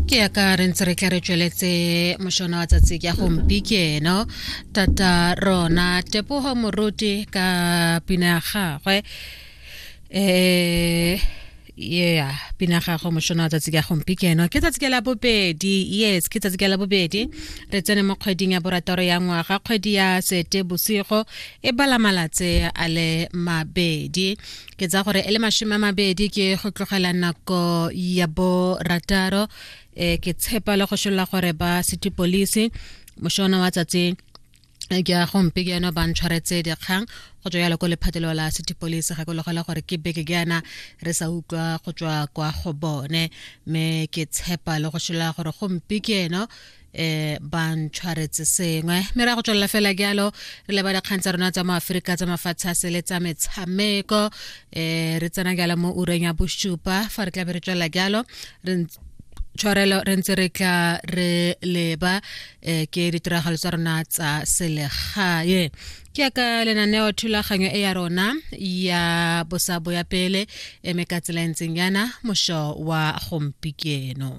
Ke ya ka re ntse re tla re tsweletse mošono wa tsatsi ke ya gompieno tata rona Tebogo Moruti ka pina ya gagwe yeah, pina gago mošono wa tsatsi ke ya gompieno. Ke tsatsi ke la bobedi, yes, ke tsatsi ke la bobedi, re tsene mo kgweding ya borataro ya ngwaga, kgwedi ya Sete Bosigo e bala malatsi a le mabedi, ke tsa gore e le 20 ke go tlogela nako ya borataro. Ke tshepa le go šolola gore ba city police mošono wa tsatsi ke ya gompieno ba ntshwaretse dikgang go tswa yalo ko lephatelo la city police. Ga kologela gore ke beke ke yana re sa utlwa go tswa kwa go bone, mme ke tshepa le go šolola gore gompieno ba ntshwaretse sengwe, mme ra go tswelela fela jalo re leba dikgang tsa rona tsa mo Aforika, tsa mafatshe a sele, tsa metshameko. Re tsena jalo mo ureng ya bosupa fa re tla be re tswelela jalo re tshwarelo re ntse re tla re leba ke ditiragalo tsa rona tsa selegae. Ke ya ka lenaneo thulaganyo e ya rona ya bosabo ya pele eme ka tsela e ntseng yana mošo wa gompieno.